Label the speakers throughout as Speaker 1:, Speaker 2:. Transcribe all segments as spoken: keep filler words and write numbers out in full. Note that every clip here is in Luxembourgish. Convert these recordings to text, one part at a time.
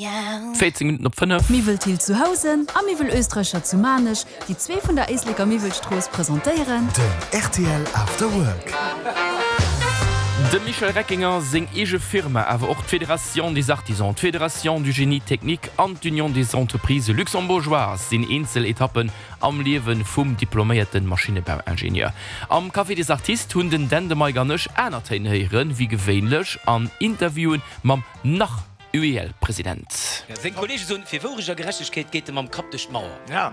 Speaker 1: Véierzéng Minutten op fënnef.
Speaker 2: Miwwel Thill zu Housen a Miwwel Oesträicher zu Maarnech, déi zwee vun der Éisleker Miwwelstrooss presentéieren.
Speaker 3: Den rtl After Work.
Speaker 1: Dem Michel Reckinger seng eege Firma, awer och d'Fédération des Artisans, d'Fédération du Génie Technique an d'Union des Entreprises Luxembourgeoises sinn eenzel Etappen am Liewe vum diploméierte Maschinnebauingenieur. Am Café des Artistes hunn den Dan, de Mike an ech aner Téin héieren, wéi gewéinlech an Interviewen mam nach UEL-President.
Speaker 4: Seng Kollege soen, fir Wourecht a Gerechtegkeet geet e mam Kapp duerch d'Mauer.
Speaker 5: Ja,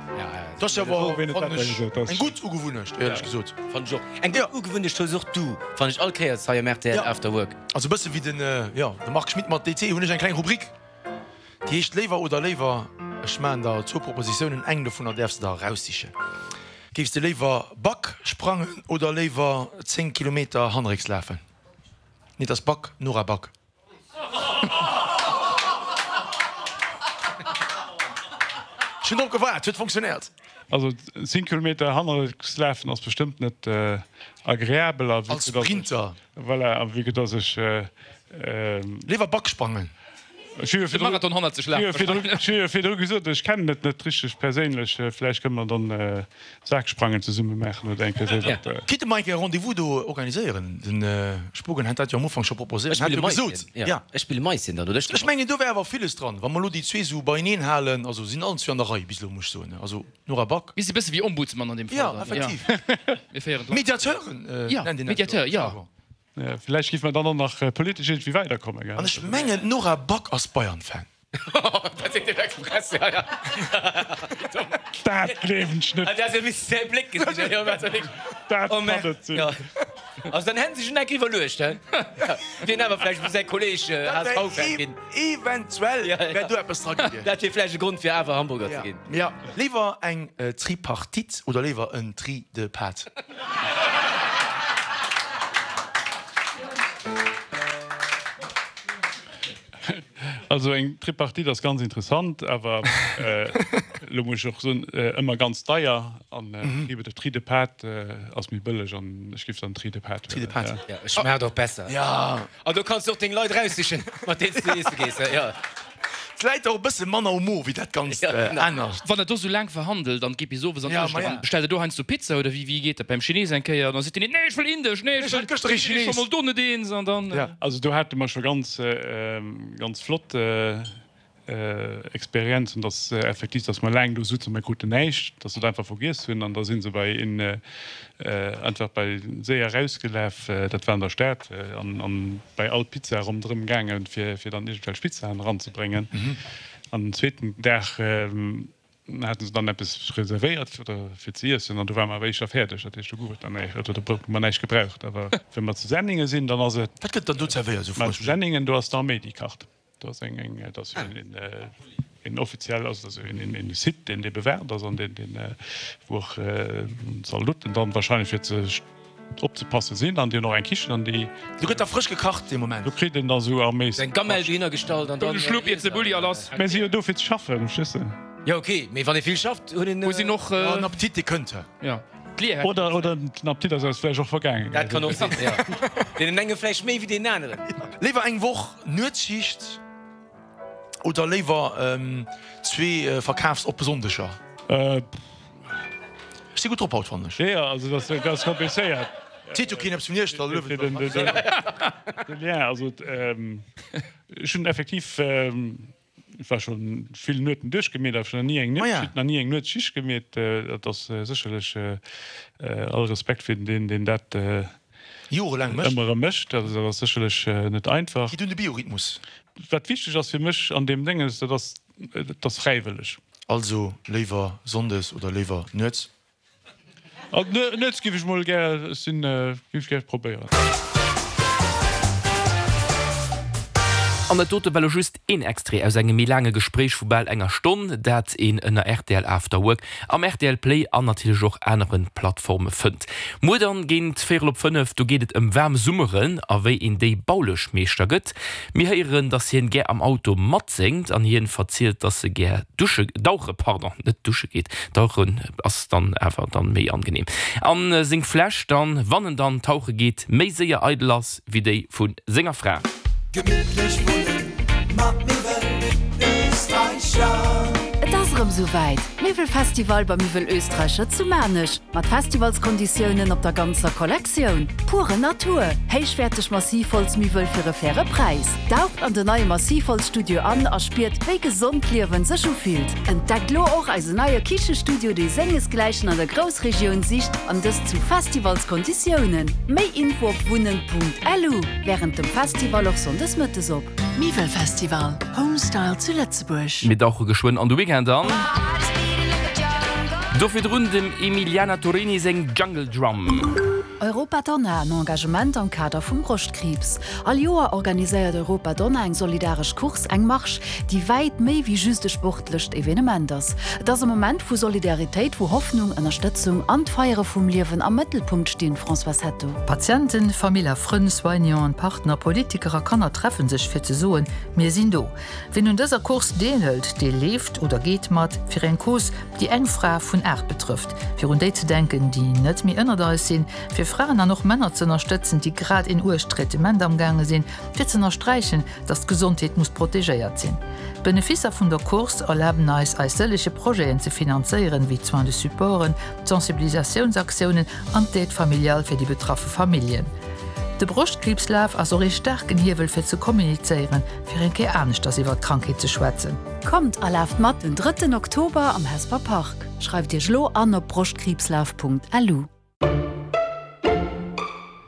Speaker 5: dat ass jo awer, fannen ech, eng gutt Ugewunnecht, éierlech gesot.
Speaker 4: Fannen ech och. Eng gutt Ugewunnecht hues och du, fannen ech all Kéiers hei am rtl After Work.
Speaker 5: Also e bësse wéi den, jo, de Marc Schmitt mat D C hunn ech eng kleng Rubrik, déi heescht Léiwer oder léiwer. Ech maachen der zwou Propositiounen, eng dovunner däerfs de der eraussichen. Géifs de léiwer Back sprangen oder léiwer zéng Kilometer hannerrécks lafen? Nee, et ass Back, Nora Back. Ech hunn drop gewaart, huet funktionéiert.
Speaker 6: Also zéng Kilometer hannerrécks lafen ass bestëmmt net agreabel.
Speaker 5: Als Sprinter.
Speaker 6: Voilà, a vue que dass ech.
Speaker 5: Léiwer Back sprangen.
Speaker 6: Ech hu jo virdru gesot, ech kennen et net richteg perséinlech. Vläicht kënne mer dann Saksprangen zesumme maachen oder eng Kéier esou.
Speaker 5: Kinnt de Mike e Rendez-vous do organiséieren? Den Spogen hat dat jo am Ufank scho proposéiert.
Speaker 4: Ech spille Maisien, jo. Ech spille Maisien dann, oder?
Speaker 5: Ech mengen, do wär awer villes dran, wa mer elo déi zwee esou beieneen halen. Also sinn allen zwee an der Rei bis elo, muss ech soen. Also Nora Back.
Speaker 7: Mir si bësse wéi Ombudsman an deem Fall dann.
Speaker 5: Jo, effektiv.
Speaker 7: Mir féieren d'Land.
Speaker 5: Mediateuren nennt een dat jo.
Speaker 7: Mediateur, jo.
Speaker 6: Vläicht géife mer dann och nach politesch iergendwéi weiderkommen, gell?
Speaker 5: An ech mengen, d'Nora Back ass Bayern-Fan.
Speaker 4: Dat seet den Express, ja, ja.
Speaker 6: Dat gleewen ech net.
Speaker 4: Dat
Speaker 6: kann net sinn.
Speaker 4: Also dann hätten se sech enk iwwerluecht, he? Wien awer vläicht muss säi Kolleeg H S V-Fan ginn.
Speaker 5: Eventuell wär do eppes dra gewiescht.
Speaker 4: Dat wier vläicht e Grond fir awer Hamburger ze ginn.
Speaker 5: Ja. Léiwer eng Tripartite oder léiwer en Tri de Pâtes?
Speaker 6: Also eng Tripartite ass ganz interessant, awer elo muss ech och soen, ëmmer ganz deier. An de Tri de Pâtes ass méi bëlleg an ech géif dann Tri de Pâtes huelen.
Speaker 4: Jo, et schmaacht och besser. An do kanns du och deng Leit eraussichen, mat deenen s du iesse gees.
Speaker 5: Et läit och e bësse manner um Mo wéi dat ganzt anert.
Speaker 7: Wann der do sou laang verhandelt an et geet bis owes an d'Nuecht eran, bestellt der do heiansdo Pizza oder wéi wéi geet dat beim Chines eng Kéier? Dann seet deen een, nee ech wëll indesch, nee ech wëll,
Speaker 5: gëschter ee
Speaker 7: sinn ech scho mol do net eens an dann.
Speaker 6: Also do hate mer scho ganz ganz flott Experienzen, dass effektiv, dass mer laang do sutzen, mer kruten näischt, dass se et einfach vergiess hunn an da si se bei een einfach bei séier erausgelaf, dat war an der Stad, an bei all Pizza ronderëm gaangen, fir fir dann iergendwelch Pizzaen eranzebréngen. An den zweeten Dag hate se dann eppes reservéiert oder fir ze iessen an do ware mer awer éischter fäerdeg, dat heescht do gouf et dann näischt oder do hu mer näischt gebraucht. Awer wa mer zu Senningen sinn, dann ass et.
Speaker 5: Wat gëtt dann do zerwéiert, esou
Speaker 6: frësch? Zu Senningen, do ass d'Arméi déi kacht. Do ass eng, eng, dat ass jo een, een offiziell, also dat ass jo een, een Site, deen, dee bewaacht ass an deen, deen, wou och Zaldoten dann wahrscheinlech fir ze opzepasse sinn an déi hunn och eng Kichen an déi.
Speaker 5: Do gëtt da frësch gekacht dee Moment.
Speaker 6: Do kritt een da sou Arméis.
Speaker 4: Eng Gamelle dohinner gestallt an dann.
Speaker 7: E Schlupp iert se Bulli a lass.
Speaker 6: Mä si jo do fir ze schaffen, verstees de?
Speaker 4: Jo ok, mee wann ee vill schafft, huet een.
Speaker 7: Wou sinn och.
Speaker 5: En Appetit, dee kënnt.
Speaker 7: Jo.
Speaker 6: Oder, oder den Appetit ass eis vläicht och vergaangen.
Speaker 4: Dat kann och sinn, jo. Deenen enge vläicht méi wéi deenen aneren.
Speaker 5: Léiwer eng Woch Nuetsschicht oder léiwer zwee verkafsoppe Sonndeger? Ech si gutt drop haut, fannen ech.
Speaker 6: Jo, jo, also dat ass komplizéiert.
Speaker 5: Seet jo keen eppes vun Iech, da luewen
Speaker 6: se. De Lien, also ech hunn effektiv. Ech war scho vill Nueten duerchgemeet, awer ech hunn nach ni eng Nuetsschicht, nach ni eng Nuetsschicht gemeet. Dat ass sécherlech all Respekt fir deen, deen dat
Speaker 5: Jorelaang mécht.
Speaker 6: Ëmmer erëm mécht. Dat ass sécherlech net einfach.
Speaker 5: Geet un de Biorhythmus.
Speaker 6: Wat wichteg ass fir mech an deem Dénges, dat ass, et ass fräiwëlleg.
Speaker 5: Also léiwer sonndes oder léiwer nuets?
Speaker 6: Nuets giff ech mol gär, ech sinn, giff ech gär probéieren.
Speaker 1: An dat dote war lo just een Extrait aus engem méi laange Gespréich vu bal enger Stonn, dat een ënner rtl After Work am rtl Play an natierlech och anere Plattforme fënnt. Muer dann géint véierel op fënnef, do geet et ëm waarm Summeren a wéi een déi baulesch Meeschter gëtt. Mir héieren, dass hien gär am Auto matséngt an hien verzielt, dass e gär dusche, dauche, pardon, net dusche geet, dauchen ass dann awer dann méi angenehm, an seng Fläsch dann, wann en dann tauche geet, méi séier eidel ass wéi déi vu senger Fra.
Speaker 3: Gemittlech wunnen mat Miwwel
Speaker 2: esouwäit, Miwwelfestival beim Miwwel Österreicher zu Maarnech, mat Festivalskonditiounen op der ganzer Kollektioun. Pure Natur, héichwäerteg Massivholzmiwwel fir e faire Präis. Daucht an den neie Massivholzstudio an a spiert, wéi gesond d'Liewen sech ufillt. Entdeckt lo och eisen neie Kichestudio, dee sengesgläichen an der Groussregioun sicht, an dëst zu Festivalskonditiounen. Méi Info op wunnen.lu. Wärend dem Festival och sonndes mëttes op. Miwwelfestival, Home Style zu Lëtzebuerg.
Speaker 1: Mir dauche geschwënn an de Weekend an. Do virdrun dem Emiliana Torrini seng Jungle Drum.
Speaker 2: Europa Donna, en Engagement am Kader vum Broschtkriibs. All Joer organiséiert Europa Donna eng solidaresch Course, eng Marsch, déi wäit méi wéi just e sportlecht Evenement ass. Et ass e Moment vu Solidaritéit, wou Hoffnung, Ënnerstëtzung an d'Feiere vum Liewen am Mëttelpunkt stinn, Françoise Hetto.
Speaker 8: Patienten, Famill a Frënn, Soignanten, Partner, Politiker a Kanner treffe sech fir ze soen, Mir sinn do. Wien un dëser Course deelhëlt, dee leeft oder geet mat fir eng Cause, déi eng Fra vun aacht betrëfft, fir un déi ze denken, déi net méi ënnert eis sinn, fir Fraen an och Männer z'ënnerstëtzen, déi grad een uergt Traitement amgaange sinn, fir z'ënnersträichen, dass d'Gesondheet muss protegéiert sinn. D'Beneficer vun der Course erlaben eis, eis sëllege Projeten ze finanzéieren, wéi d'Soins de supporten, d'Sensibilisatiounsaktiounen an d'Aide familiale fir déi betraffe Familljen. De Broschtkriibslaf ass och ee staarken Hiewel fir ze kommunizéieren, fir eng Kéier aneschters iwwer d'Krankheet ze schwätzen.
Speaker 2: Kommt a laaft mat den drëtten Oktober am Hesper Park. Schreift Iech lo an op broschtkriibslaf.lu.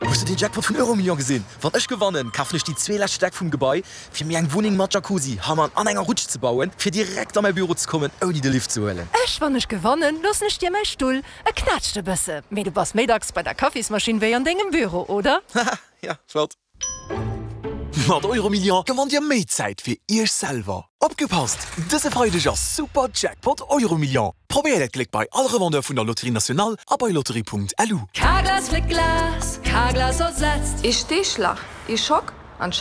Speaker 3: Hues de den Jackpot vun Euromillions gesinn? Wann ech gewannen, kafen ech déi zwee lescht Stäck vum Gebai, fir mir eng Wunneng mat Jacuzzi, Hammam an enger Rutsch ze bauen, fir direkt a mäi Büro ze kommen, ouni de Lift ze huelen.
Speaker 9: Ech, wann ech gewannen, loossen ech dir mäi Stull. E knätscht e bësse, mee du bass méi dacks bei der Kaffismaschinn wéi an dengem Büro, oder?
Speaker 3: Haha, ja, flott. Mat Euromillions gewannt Dir méi Zäit fir Iech selwer. Opgepasst! Dëse Freideg ass Super Jackpot Euromillions! Probéiert Äert Gléck bei all Revendeur vun der Loterie Nationale a bei lotterie.lu.
Speaker 9: Carglass fléckt Glas, Carglass ersetzt.
Speaker 10: Ee Steeschlach, ee Schock